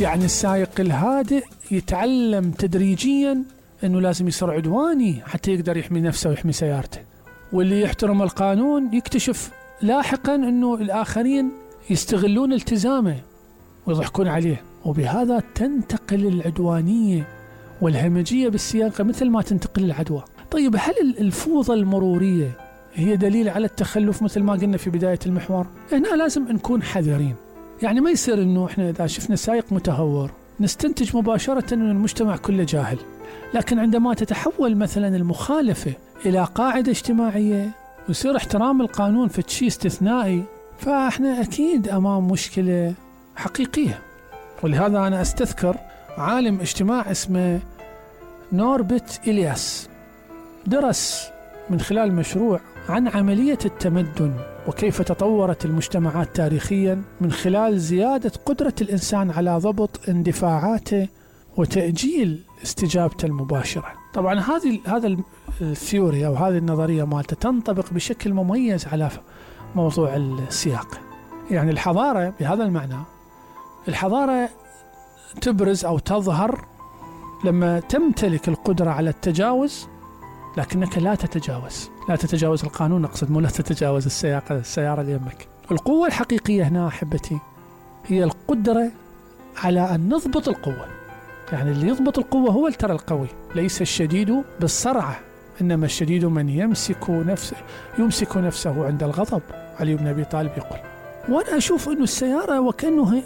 يعني السائق الهادئ يتعلم تدريجيا أنه لازم يصير عدواني حتى يقدر يحمي نفسه ويحمي سيارته، واللي يحترم القانون يكتشف لاحقا أنه الآخرين يستغلون التزامه ويضحكون عليه، وبهذا تنتقل العدوانية والهمجية بالسياقة مثل ما تنتقل العدوى. طيب هل الفوضى المرورية هي دليل على التخلف مثل ما قلنا في بداية المحور؟ هنا لازم نكون حذرين، يعني ما يصير أنه إحنا إذا شفنا سائق متهور نستنتج مباشرة أن المجتمع كله جاهل، لكن عندما تتحول مثلا المخالفة إلى قاعدة اجتماعية ويصير احترام القانون في شيء استثنائي، فإحنا أكيد أمام مشكلة حقيقية. ولهذا أنا أستذكر عالم اجتماع اسمه نوربرت إلياس، درس من خلال مشروع عن عملية التمدن وكيف تطورت المجتمعات تاريخيا من خلال زيادة قدرة الإنسان على ضبط اندفاعاته وتأجيل استجابته المباشرة. طبعا هذا الثيوري أو هذه النظرية مالته تنطبق بشكل مميز على موضوع السياق. يعني الحضارة بهذا المعنى، الحضارة تبرز أو تظهر لما تمتلك القدرة على التجاوز، لكنك لا تتجاوز القانون، أقصد مو لا تتجاوز السيارة اللي يمك. القوة الحقيقية هنا أحبتي هي القدرة على أن نضبط القوة. يعني اللي يضبط القوة هو ترى القوي، ليس الشديد بالصرعة، إنما الشديد من يمسك نفسه عند الغضب. علي بن أبي طالب يقول. وأنا أشوف أنه السيارة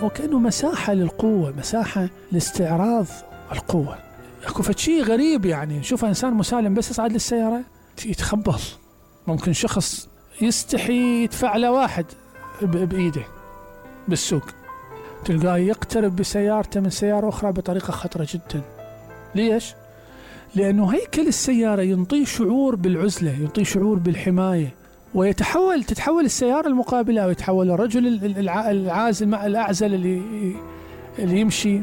وكأنه مساحة للقوة، مساحة لاستعراض القوة. أكو شيء غريب، يعني نشوف إنسان مسالم بس يصعد للسيارة يتخبل. ممكن شخص يستحي يدفع له واحد بإيده بالسوق، تلقاه يقترب بسيارته من سيارة أخرى بطريقة خطرة جدا. ليش؟ لأنه هيكل السيارة ينطي شعور بالعزلة، ينطي شعور بالحماية، تتحول السيارة المقابلة ويتحول الرجل العازل مع الأعزل اللي يمشي،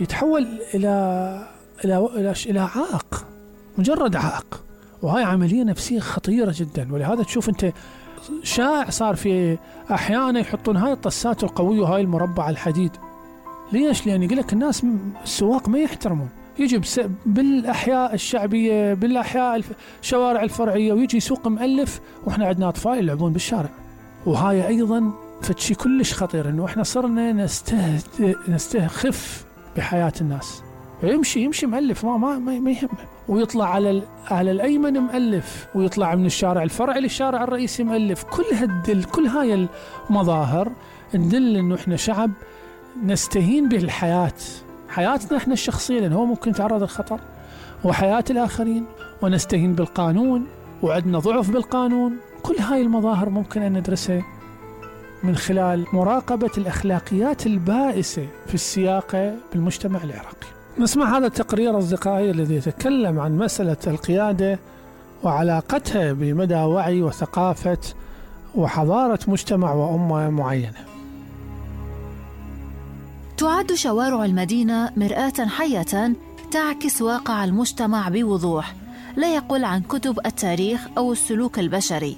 يتحول إلى عائق، مجرد عائق. وهاي عملية نفسية خطيرة جدا. ولهذا تشوف أنت شائع صار في أحيانا يحطون هاي الطسات القوية وهاي المربع الحديد. ليش؟ لأن يقول لك الناس السواق ما يحترمون، يجي بالأحياء الشعبية، بالأحياء الشوارع الفرعية، ويجي يسوق مؤلف وإحنا عندنا أطفال يلعبون بالشارع. وهاي أيضا فتشي كلش خطير، إنه إحنا صرنا نستخف بحياة الناس. يمشي مؤلف ما يهمه، ويطلع على الأيمن مؤلف، ويطلع من الشارع الفرعي للشارع الرئيسي مؤلف. كل هاي المظاهر ندل إنه إحنا شعب نستهين بالحياة، حياتنا إحنا الشخصية، لأن هو ممكن يتعرض للخطر، وحياة الآخرين، ونستهين بالقانون وعندنا ضعف بالقانون. كل هاي المظاهر ممكن أن ندرسها من خلال مراقبة الأخلاقيات البائسة في السياقة بالمجتمع العراقي. نسمع هذا التقرير أصدقائي الذي يتكلم عن مسألة القيادة وعلاقتها بمدى وعي وثقافة وحضارة مجتمع وأمة معينة. تعد شوارع المدينة مرآة حية تعكس واقع المجتمع بوضوح، لا يقل عن كتب التاريخ أو السلوك البشري.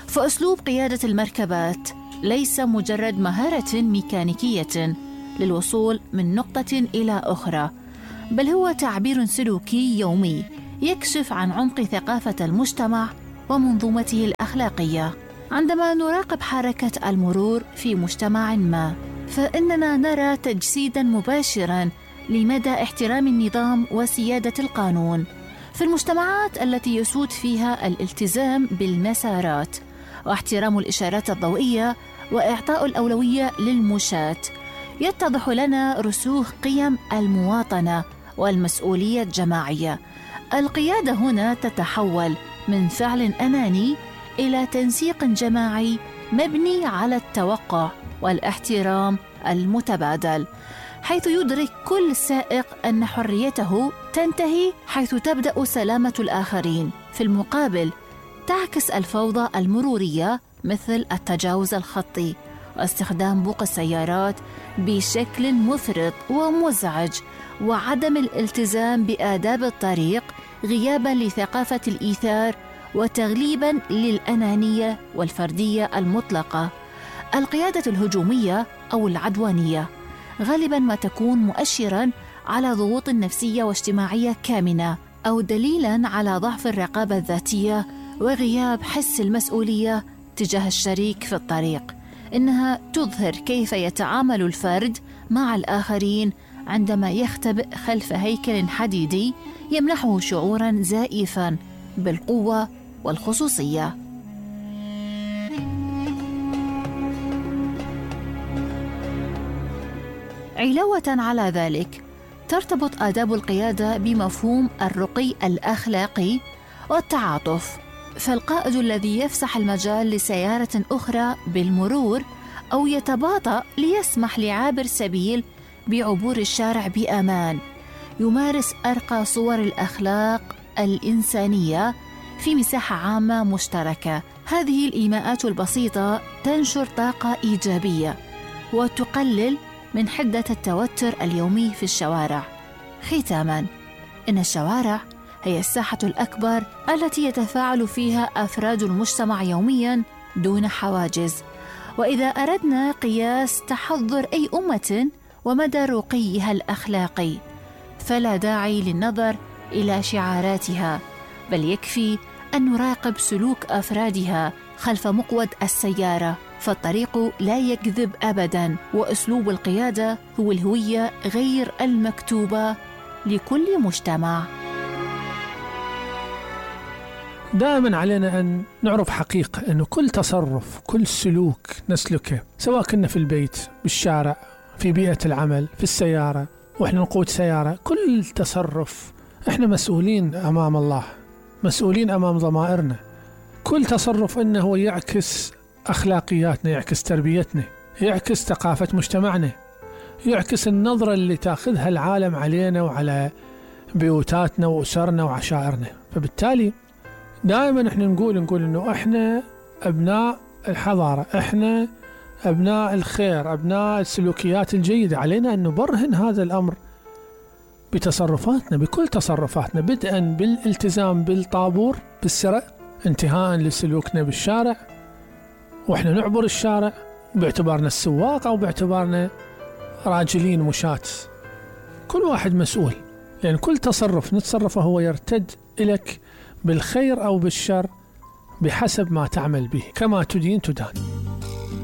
فأسلوب قيادة المركبات ليس مجرد مهارة ميكانيكية للوصول من نقطة إلى أخرى، بل هو تعبير سلوكي يومي يكشف عن عمق ثقافة المجتمع ومنظومته الأخلاقية. عندما نراقب حركة المرور في مجتمع ما، فإننا نرى تجسيداً مباشراً لمدى احترام النظام وسيادة القانون. في المجتمعات التي يسود فيها الالتزام بالمسارات واحترام الإشارات الضوئية وإعطاء الأولوية للمشاة، يتضح لنا رسوخ قيم المواطنة والمسؤولية الجماعية. القيادة هنا تتحول من فعل أناني إلى تنسيق جماعي مبني على التوقع والاحترام المتبادل، حيث يدرك كل سائق أن حريته تنتهي حيث تبدأ سلامة الآخرين. في المقابل، تعكس الفوضى المرورية مثل التجاوز الخطي واستخدام بوق السيارات بشكل مفرط ومزعج وعدم الالتزام بآداب الطريق، غياباً لثقافة الإيثار وتغليباً للأنانية والفردية المطلقة. القيادة الهجومية أو العدوانية غالباً ما تكون مؤشراً على ضغوط نفسية واجتماعية كامنة، أو دليلاً على ضعف الرقابة الذاتية وغياب حس المسؤولية تجاه الشريك في الطريق. إنها تظهر كيف يتعامل الفرد مع الآخرين عندما يختبئ خلف هيكل حديدي يمنحه شعوراً زائفاً بالقوة والخصوصية. علاوة على ذلك، ترتبط آداب القيادة بمفهوم الرقي الأخلاقي والتعاطف، فالقائد الذي يفسح المجال لسيارة أخرى بالمرور أو يتباطأ ليسمح لعابر سبيل بعبور الشارع بأمان يمارس أرقى صور الأخلاق الإنسانية في مساحة عامة مشتركة. هذه الإيماءات البسيطة تنشر طاقة إيجابية وتقلل من حدة التوتر اليومي في الشوارع. ختاماً، إن الشوارع هي الساحة الأكبر التي يتفاعل فيها أفراد المجتمع يومياً دون حواجز، وإذا أردنا قياس تحضر أي أمة ومدى رقيها الأخلاقي فلا داعي للنظر إلى شعاراتها، بل يكفي أن نراقب سلوك أفرادها خلف مقود السيارة، فالطريق لا يكذب أبداً، وأسلوب القيادة هو الهوية غير المكتوبة لكل مجتمع. دائما علينا أن نعرف حقيقة أنه كل تصرف، كل سلوك نسلكه، سواء كنا في البيت، بالشارع، في بيئة العمل، في السيارة وإحنا نقود سيارة، كل تصرف إحنا مسؤولين أمام الله، مسؤولين أمام ضمائرنا. كل تصرف إنه يعكس أخلاقياتنا، يعكس تربيتنا، يعكس ثقافة مجتمعنا، يعكس النظرة اللي تأخذها العالم علينا وعلى بيوتاتنا وأسرنا وعشائرنا. فبالتالي دائما احنا نقول إنه احنا أبناء الحضارة، احنا أبناء الخير، أبناء السلوكيات الجيدة. علينا أن نبرهن هذا الأمر بتصرفاتنا، بكل تصرفاتنا، بدءا بالالتزام بالطابور بالسرع، انتهاء لسلوكنا بالشارع وإحنا نعبر الشارع باعتبارنا السواق أو باعتبارنا راجلين مشاة. كل واحد مسؤول، لأن كل تصرف نتصرفه هو يرتد إليك بالخير أو بالشر بحسب ما تعمل به، كما تدين تدان.